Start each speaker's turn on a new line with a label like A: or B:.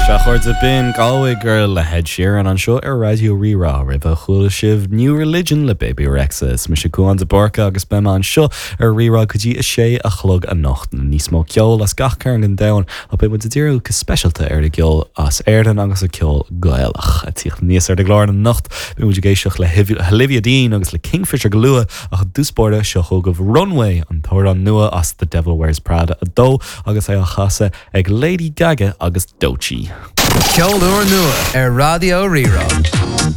A: Sea, a chairde, b'in Galway Girl le Ed Sheeran anseo ar Raidió Rí-Rá. Roimhe chuala sibh New Religion le Bebe Rexha. Is mise Cúán de Búrca agus beidh mé anseo ar Rí-Rá go dtí a sé a chlog anocht. Níos mó ceoil as gach cearn den domhan ach beidh muid ag díriú go speisialta ar an gceol as Éirinn agus an ceol Gaelach. Ag tíocht aníos ar an gclár anocht beidh muid ag éisteacht le hOlivia Dean agus le Kingfisher go luath ach i dtús báire seo chugaibh Runway, an t-amhrán nua as The Devil Wears Prada 2 agus é á chasadh ag Lady Gaga agus Doechii.
B: Ceol úrnua ar Raidió Rí-Rá.